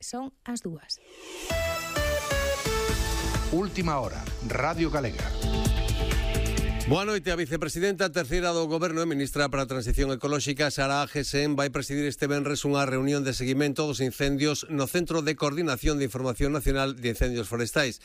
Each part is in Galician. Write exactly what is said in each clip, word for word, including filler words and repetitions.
son as dúas. Última hora, Radio Galega. Boa noite. A vicepresidenta terceira do Goberno e ministra para a Transición Ecolóxica, Sara Agesen, vai presidir este venres unha reunión de seguimento dos incendios no Centro de Coordinación de Información Nacional de Incendios Forestais.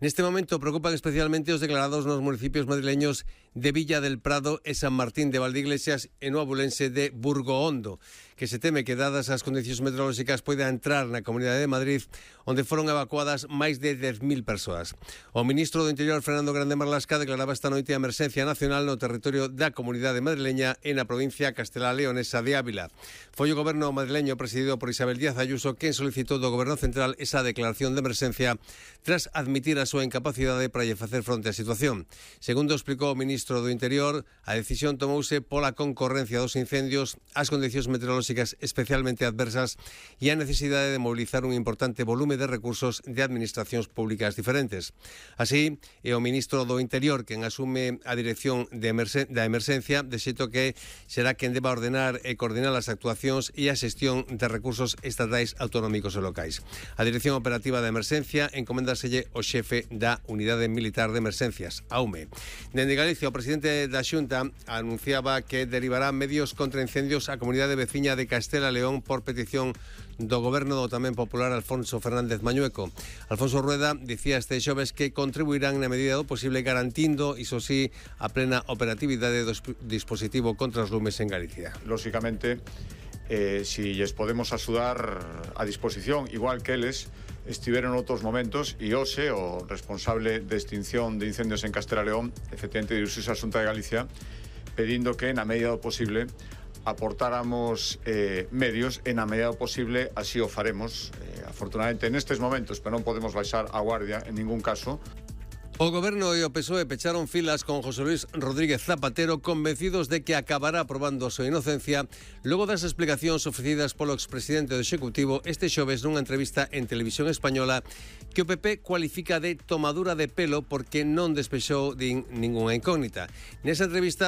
Neste momento preocupan especialmente os declarados nos municipios madrileños de Villa del Prado e San Martín de Valdeiglesias e no abulense de Burgohondo, que se teme que, dadas as condicións meteorolóxicas, poida entrar na Comunidade de Madrid, onde foron evacuadas máis de dez mil persoas. O ministro do Interior, Fernando Grande Marlasca, declaraba esta noite a emerxencia nacional no territorio da Comunidade madrileña e na provincia castelá-leonesa de Ávila. Foi o goberno madrileño presidido por Isabel Díaz Ayuso quen solicitou do goberno central esa declaración de emerxencia tras admitir a súa incapacidade para lle facer fronte á situación. Segundo explicou o ministro do Interior, a decisión tomouse pola concorrencia dos incendios, as condicións meteorolóxicas especialmente adversas e a necesidade de mobilizar un importante volume de recursos de administracións públicas diferentes. Así, é o ministro do Interior quen asume a dirección de emerxen- da emerxencia, de xeito que será quen deba ordenar e coordinar as actuacións e a xestión de recursos estatais, autonómicos e locais. A dirección operativa da emerxencia encomendaselle o xefe da Unidade Militar de Emerxencias, a U M E. Dende Galicia, o presidente da Xunta anunciaba que derivará medios contra incendios á comunidade veciña de Castela e León por petición do goberno do tamén popular Alfonso Fernández Mañueco. Alfonso Rueda dicía este xoves que contribuirán na medida do posible garantindo, iso sí, a plena operatividade do dispositivo contra os lumes en Galicia. Lóxicamente, eh, si lles podemos axudar a disposición, igual que eles estiveron en outros momentos, e hoxe o responsable de extinción de incendios en Castela e León efectivamente dirixiuse á Xunta de Galicia pedindo que, na medida do posible, aportáramos eh, medios e na medida do posible así o faremos. Eh, afortunadamente nestes momentos, pero non podemos baixar a guardia en ningún caso. O Goberno e o P S O E pecharon filas con José Luis Rodríguez Zapatero, convencidos de que acabará aprobando a súa inocencia logo das explicacións ofrecidas polo expresidente do Executivo este xoves nunha entrevista en Televisión Española que o P P cualifica de tomadura de pelo porque non despexou din ningunha incógnita. Nesa entrevista